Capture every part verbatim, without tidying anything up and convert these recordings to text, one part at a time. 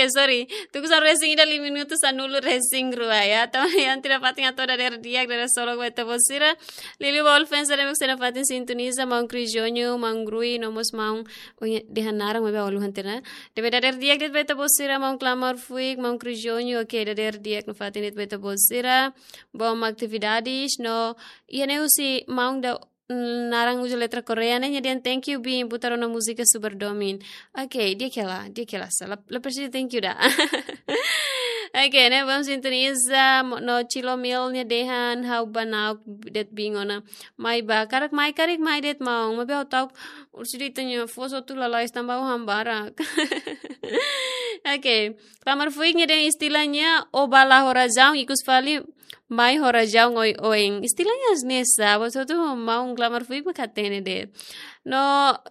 Eh, sorry. Tuku sa resin ida lima minutu sanulu resin rua ya. Tanba iha ne'e fatin hato'o dadeer di'ak, dadeer solok ba ita-boot sira. Liuliu ba all fans sira ne'ebé mak sei nafatin sintoniza, maun Crijonho, maun Grui, no mós maun, oh, iha dehan naran maibé ha'u haluha tiha ona. Ne'ebé dadeer di'ak de'it ba ita-boot sira, maun Klamar Fuik, maun Crijonho, oke, dadeer di'ak nafatin de'it ba ita-boot sira. Bom atividades, no, iha ne'e husi maun ida, mm, naran uza letra Korea ne'e, nia dehan thank you, Bin, butar ona múzika super domin. Oke, di'ak hela, di'ak hela, sa, la, la presiza thank you ida. Oke, ne'e, bom sintoniza, mo-, no Chilo Mil nia dehan, ha'u ba na'ok de'it Bin ona. Mai ba, karik mai, karik mai de'it maun, maibé ha'u ta'uk, orsida ita-nia foos hotu lalais tanba ha'u han barak. Oke, Klamar Fuik nia dehan istilahnya, ó ba la ho razaun, ikus fali, mai ho razaun oioin. Istilahnya hanesan ne'e sa, buat hotu maun Klamar Fuik mak hatene de'it. No,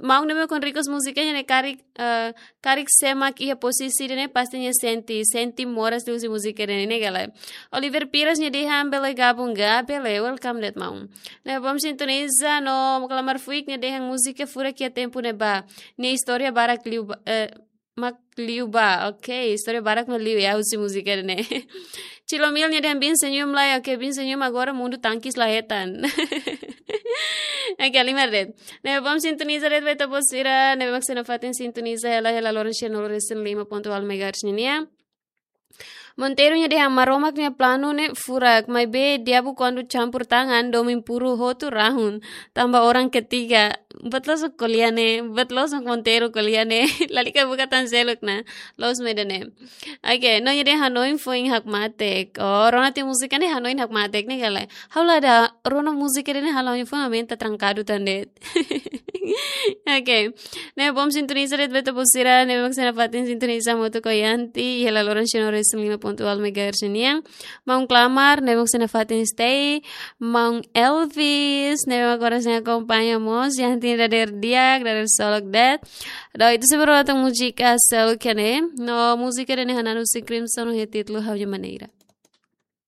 maun ne'ebé mak request múzika ne'e karik, eh, karik sé mak iha pozisi ida-ne'e pasti nia sente, sente moras liuhusi múzika ida-ne'e, ne'e ka lae. Oliver Pires nia dehan bele gabung ga, bele, welcome de'it maun. Ne'e, bom sintoniza, no Klamar Fuik nia dehan múzika furak iha tempu ne'ebá. Nia istória barak liu ba, eh, mak liu ba. Oke, istória barak mak liu ya, husi múzika ne'e. Chilo Mil nia dehan Bin senyum lai, oke, Bin senyum agora mundu tangkis la hetan. Oke, halimar de'it. Ne'e, bom sintoniza de'it ba ita-boot sira, ne'ebé mak sei nafatin sintoniza hela, hela loron sia nulu resin lima pontu haat megahertz nian. Monteiro nia dehan Maromak nia planu ne'e furak, maibé diabu kuandu campur tangan, domin puru hotu rahun, tanba orang ketiga. Buat loos ko'alia ne'e, buat loos Monteiro ko'alia ne'e. Lalika buka tan seluk ona, loos mak ida-ne'e. Oke, no nia dehan hanoin foin hakmatek. Oh, rona tiha múzika ne'e hanoin hakmatek ne'e ka lae. Ha'u la dada rona múzika ida-ne'e hanoin foin, ha'u mente trankadu tan de'it. Oke. Ne'e, bom sintoniza de'it ba ita-boot sira, ne'ebé mak sei nafatin sintoniza hamutuk ho Yanti, hela loron sia nulu resin lima pontu haat megahertz nian. Maun Klamar, ne'ebé mak sei nafatin stay. Maun Elvis, ne'ebé mak agora sei akompaña mós, Yanti dadeer di'ak, dadeer solok de'it. No ita sei bá rona tan múzika seluk ne'e, no múzika ida-ne'e hanesan husi Crimson ho títulu Ha'u-nia Maneira.